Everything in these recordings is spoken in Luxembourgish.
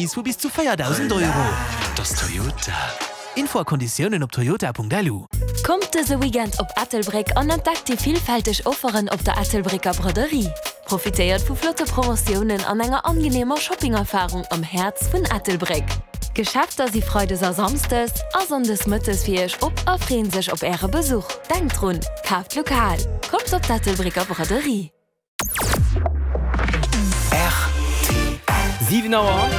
Remise vu bis zu 4.000 Euro. Dat ass Toyota. Info a Konditiounen op toyota.lu. Kommt dëse Weekend op Ettelbréck an entdeckt déi villfälteg Offeren op der Ettelbrécker Braderie. Profitéiert vu flotte Promotiounen an enger angeneemer Shoppingerfarung am Häerz vun Ettelbréck. D'Geschäfter si freides a samsdes a sonndes mëttes fir iech op a freeën sech op äre Besuch. Denkt drun, kaaft lokal! Kommt op d'Ettelbrécker Braderie! Rtl. 7 Auer,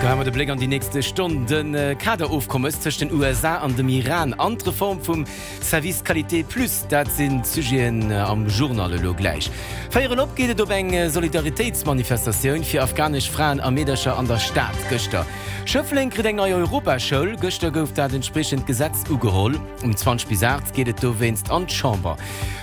Geheie mer de Bléck an déi nächste Stonn. De Kaderofkommes tëscht den USA an dem Iran an d'Reform vum Service Qualité Plus, dat sinn d'Sujeten am Journal elo gläich. Véierel op geet et op eng Solidaritéitsmanifestatioun fir afghanesch Fraen a Meedercher an der Stad gëschter. Schëffleng kritt eng nei Europaschoul, gëschter gouf dat entspriechend Gesetz ugeholl. Um 20 bis 8 geet et dowéinst an d'Chamber.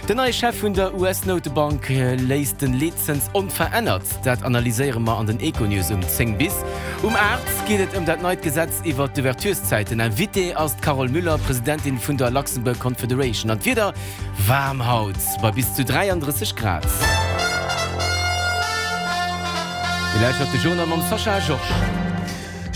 Den neie Chef vun der US-Noutebank léisst den Leetzëns onverännert. Dat analyséiere mer an den Econews um 10 bis. Um 8 geet et ëm dat neit Gesetz iwwer d'Ouvertureszäiten. Invitée ass d'Carole Müller, Presidentin vun der Luxembourg Confederation. An d'Wieder, Waarm haut bei bis zu 33 Grad. Dir lauschtert de Journal mam Sascha Georges.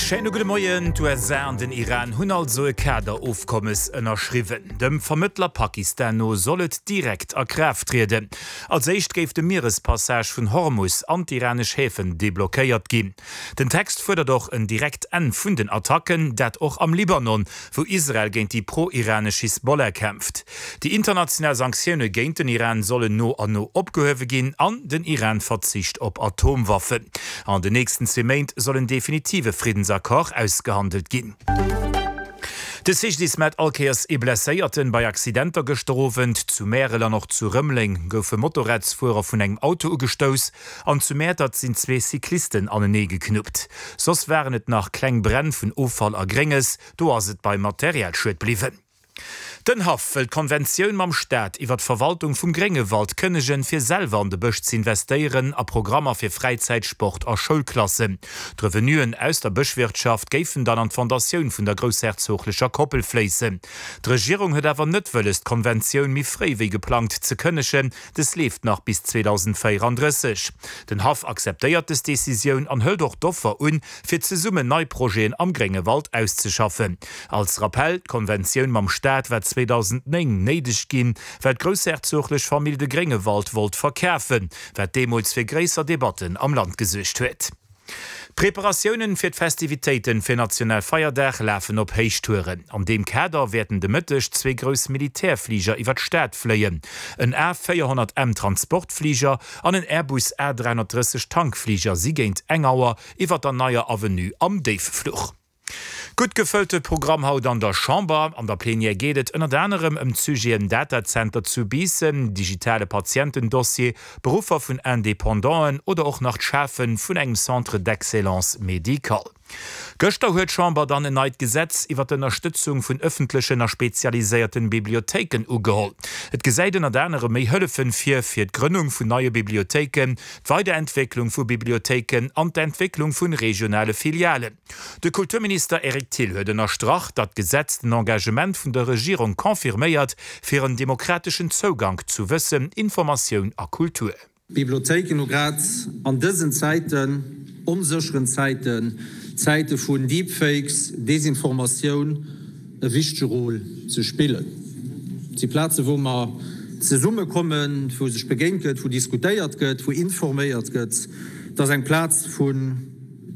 Schéine gudde Moien. D'USA an den Iran hunn also e Kaderofkommes ënnerschriwwen. Dem Vermëttler Pakistan no soll et direkt a Kraaft trieden. Als éischt géif de Mierespassage vun Hormus an d'iranesch Häfen deblockéiert ginn. Den Text fuerdert och en direkt Enn vun den Attacken, dat och am Libanon, wou Israel géint déi pro-iranesch Hisbollah kämpft. Déi international Sanktioune géint den Iran sollen no an no opgehuewe ginn an den Iran verzicht op Atomwaffen. An den nächsten zwee Méint soll en definitive Friddensaccord ausgehandelt ginn. De CGDIS mellt all Kéiers ee Blesséierten bei Accidenter gëschter Owend. Zu Märel an och zu Rëmeleng goufe Motorradsfuerer vun engem Auto ugestouss an zu Mäertert sinn zwee Cyclisten anenee geknuppt. Soss waren et nach kleng Bränn vun Offall a Grénges. Do ass et beim Materialschued bliwwen. Den Haff wëll d'Konventioun mam Staat iwwer d'Verwaltung vum Gréngewald kënnegen, fir selwer an de Bësch z'investéieren a Programmer fir Fräizäit, Sport a Schoulklassen. D'Revenuen aus der Bëschwirtschaft géifen dann an d'Fondatioun vun der groussherzoglecher Koppel fléissen. D'Regierung huet awer net wëlles, d'Konventioun méi fréi wéi geplangt ze kënnegen. Dës leeft nach bis 2034. Den Haff akzeptéiert dës Decisioun an hëlt och d'Offer un, fir zesummen nei Projeten am Gréngewald auszeschaffen. Als Rappell, D'Konventioun mam Staat war 2009 néideg ginn, well d'groussherzoglech Famill de Gréngewald wollt verkafen, wat deemools fir gréisser Debatten am Land gesuergt huet. D'Preparatiounen fir d'Festivitéiten fir Nationalfeierdag lafen op Héichtouren. An deem Kader wäerten de Mëtteg zwee grouss Militärfliger iwwer d'Stad fléien, en A 400 M Transportfliger an en Airbus A 330 Tankfliger si géint eng Auer iwwer der neier Avenue am Déiffluch. Gutt gefëllte Programm haut an der Chamber. An der Plenière geet et ënnert anerem ëm d'Sujeten Datazenter zu Biissen, digitale Patientendossier, Beruffer vun Independanten oder och nach d'Schafe vun engem Centre d'excellence médical. Gëschter huet d'Chamber dann en neit Gesetz iwwer d'Ënnerstëtzung vun ëffentlechen a spezialiséierten Bibliothéiken ugeholl. Et gesäit ënnert anerem méi Hëllefen vir fir d'Grënnung vun neie Bibliothéiken, d'Weiderentwécklung vu Bibliothéiken an d'Entwécklung vun regionale Filialen. De Kulturminister Eric Thill huet ënnerstrach, datt d'Gesetz den Engagement vun der Regierung confirméiert fir en demokrateschen Zougank zu Wëssen, Informatioun a Kultur. D'Bibliothéiken hu grad an dësen Zäiten, onsécheren Zäiten, Zäite vun Deepfakes, Desinformatioun, e wichtege Rôle ze spillen. Et si Plazen, wou mer zesummekommen, wou sech begéint gëtt, wou diskutéiert gëtt, wou informéiert gëtt. Et ass eng Plaz vun.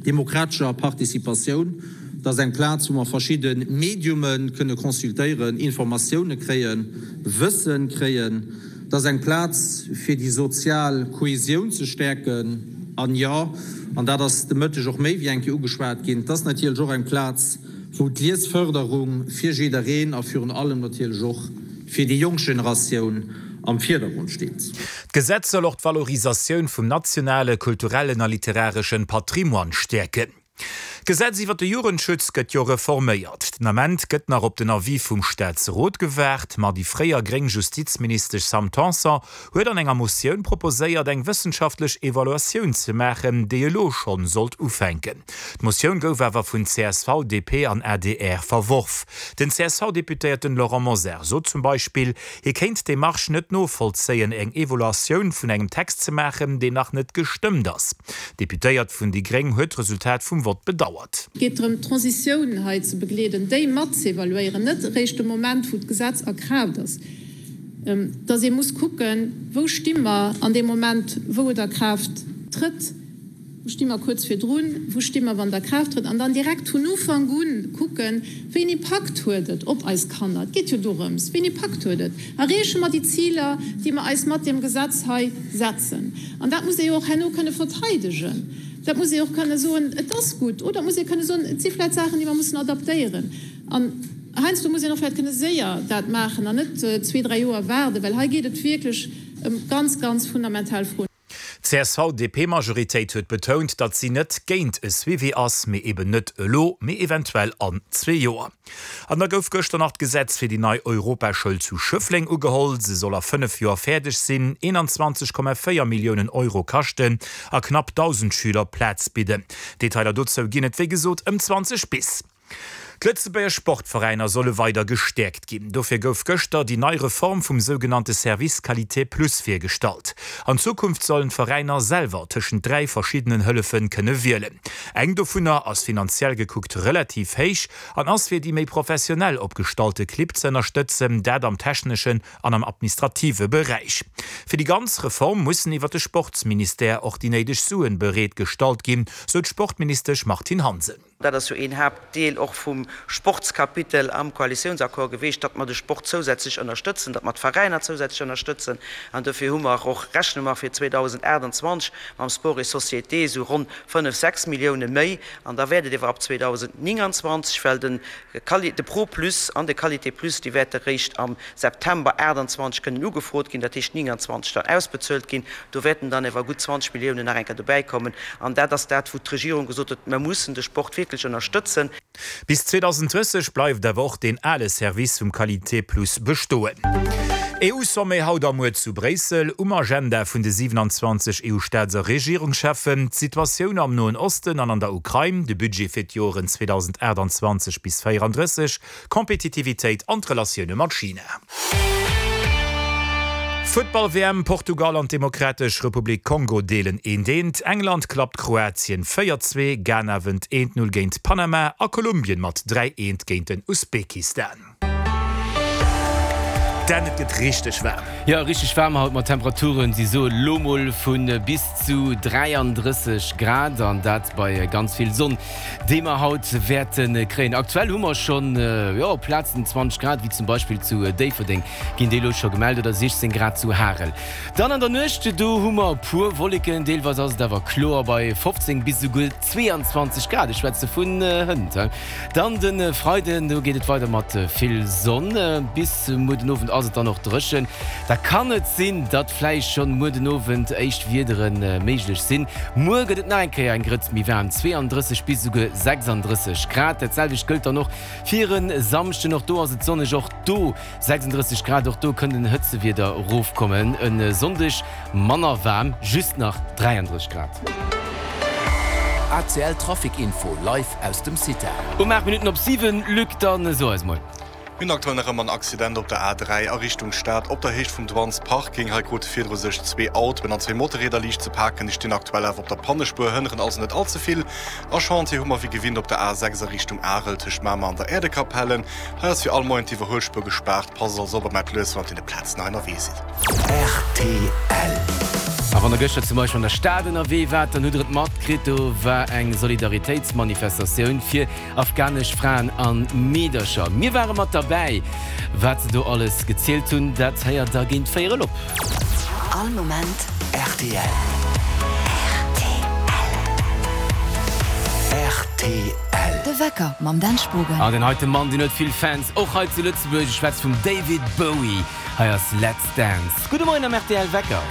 Demokratescher Participatioun, dat ass eng Plaz, wou mer verschidde Mediume kënne consultéieren, Informatioune kréien, Wësse kréien. Dat ass eng Plaz, fir déi sozial Kohesioun ze stäerken. An jo, an dat ass de Mëtteg och méi wéi eng Kéier ugeschwat ginn, et ass natierlech och eng Plaz, wou d'Liesfërderung fir jiddereen a virun allem natierlech och fir déi jonk Generatioun am Virdergrond steet. D'Gesetz soll och d'Valorisatioun vum nationale, kulturellen a literareschen Patrimoine stäerken. D'Gesetz iwwer de Jugendschutz gëtt jo reforméiert. Den Ament gëtt nach op den Avis vum Staatsrot gewaart, ma déi fréier gréng Justizministesch Sam Tanson huet an enger Motioun proposéiert, eng wëssenschaftlech Evaluatioun ze maachen, déi elo schonn sollt ufänken. D'Motioun gouf awer vun csv, DP an adr verworf. Den CSV-Deputéierten Laurent Mosar sot zum Beispill, hie kéint d'Demarche net novollzéien, eng Evaluatioun vun engem Text ze maachen, deen nach net gestëmmt ass. D'Deputéiert vun déi gréng huet d'Resultat vum Vott bedauert. Et geet drëm, d'Transitioun hei ze begleeden, déi mat z'evaluéieren, net eréischt de Moment, wou d'Gesetz a Kraaft ass, dass ee muss kucken, wou sti mer an deem Moment, wou et a Kraaft trëtt, wou sti mer kuerz virdrun, wou sti mer, wann et a Kraaft trëtt, an dann direkt vun Ufank u kucken, wéi en Impakt huet et op eis Kanner. Et geet jo dorëms, wéi en Impakt huet et. Erreeche mer déi Ziler, déi mer eis mat deem Gesetz hei setzen? An dat muss ee jo och herno kënne verteidegen. Dat muss ee och kënne soen, et ass gutt. Oder et muss ee kënne soen, et si vläicht Saachen, déi mer mussen adaptéieren. An heiansdo muss een och vläicht kënne séier dat maachen an net zwee, dräi Joer waarden, well hei geet et wierklech ëm ganz, ganz fundamental Froen. D'CSV-DP-Majoritéit huet betount, datt si net géint e Suivi ass, mee eben net elo, mee eventuell an zwee Joer. An da gouf gëschter nach d'Gesetz fir déi nei Europaschoul zu Schëffleng ugeholl. Se soll a 5 Joer fäerdeg sinn, 21,4 Milliounen Euro kaschten a knapp 1.000 Schüler Plaz bidden. Detailer dozou ginn et wéi gesot ëm 20 bis. D'Lëtzebuerger Sportveräiner solle weider gestäerkt ginn. Dofir gouf gëschter déi nei Reform vum sougenannte Service Qualité Plus virgestallt. An Zukunft sollen d'Veräiner selwer tëschent 3 verschiddenen Hëllefe kënne wielen. Eng dovunner ass finanziell gekuckt relativ héich an ass fir déi méi professionell opgestallte Clibb ze ënnerstëtzen, dat am techneschen an am administrative Beräich. Fir déi ganz Reform mussen iwwer de Sportsministère och déi néideg Suen bereet gestallt ginn, sou d'Sportministesch Martine Hansen. Dat ass jo een Haaptdeel och vum Sportskapitel am Koalitiounsaccord geweecht, datt mer de Sport zousätzlech ënnerstëtzen, datt mer d'Veräiner zousätzlech ënnerstëtzen. An dofir hu mer och, rechne mer fir 2028 mam Sport et Société esou ronn fënnef, sechs Millioune méi. An da wäert et ewer ab 2029, well de de Pro Plus an de Qualité Plus, déi wäerte réischt am September 28 kënnen ugefrot ginn, dat heescht 29 dann ausbezuelt ginn. Do wäerten dann ewer gutt 20 Milliounen nach eng Kéier dobäikommen. An dat ass dat, wou d'Regierung gesot huet, Mer mussen de Sport wierklech ënnerstëtzen. Bis 2030 bleift awer och deen ale Service vum Qualité Plus bestoen. EU-Sommet haut a muer zu Bréissel, Um Agenda vun de 27 EU-Staats a Regierungscheffen, d'Situatioun am Noen Osten an an der Ukrain, de Budget fir d'Joren 2028 bis 34, Kompetitivitéit an d'Relatioune mat China. Futtball-WM, Portugal an d'Demokratesch Republik Kongo deelen eent eent, England klappt Kroatien 4, 2, Ghana wënnt eent 0 géint Panama a Kolumbien mat 3, 1 géint den Usbekistan. Dan, et gëtt richteg waarm. Jo, richteg waarm haut mat Temperaturen, si soe lo mol vu bis zu 33 Grad an dat bei ganz vill Sonn. Déi mer haut wäerte kréien. Aktuell hu mer schonn, jo, op Plazen 20 Grad, wéi zum Beispill zu Déifferdeng ginn déi elo scho gemellt, oder 16 Grad zu Harel. Dann an der Nuecht, do hu mer e puer Wolleken, deelweis ass et awer kloer bei 15 bis esouguer 22 Grad. Ech schwätze vun hënt. Dann de Freiden, do geet et weider mat vill Sonn. Bis muer den Owend ass et dann och dréchen. Da kann et sinn, datt vläicht schonn muer den Owend éischt Wiedere méiglech sinn. Muer gëtt et nach eng Kéier eng Grëtz méi waarm, 32 bis esouguer 36 Grad. Dat selwecht gëllt dann och fir e Samschden, och do ass et sonneg, och do 36 Grad, och do kënnt en Hëtzewieder erofkommen. E Sonndeg manner waarm, just nach 33 Grad. ACL Trafic Info live aus dem CITA. Um 8 Minutten op 7, Luc, dann so eis mol. Mir hunn aktuell nach ëmmer en Accident op der A3 a Richtung Stad op der Héicht vum Douanes Parking. Hei krute virdru sech zwee Autoen an zwee Motorrieder liicht ze paken. Déi stinn aktuell awer op der Pannespuer, hënneren also net all ze vill. A Chantier hu mer wéi gewinnt op der A6 a Richtung Arel tëscht Mamer an der Äerdekapelle. Hei ass fir all Moien d'Iwwerhuelspuer gespaart. Passt also op a maacht lues, wann der op deene Plazen hei ënnerwee sidd. Rtl. A wann der gëschter zum Beispill an der Stad ënnerwee waart, dann hutt der et matkritt, do war eng Solidaritéitsmanifestatioun fir Afghanesch Fraen an Meedercher. Mir ware mat derbäi. Wat se do alles gezielt hunn, dat héiert der géint véierel op. All Moment rtl. Rtl. De Wecker mam Dan Spogen. An deen heite Mann, deen huet vill Fans, och hei zu Lëtzebuerg. Ech schwätze vum David Bowie. Hei ass Let's Dance. Gudde Moien am rtl Wecker.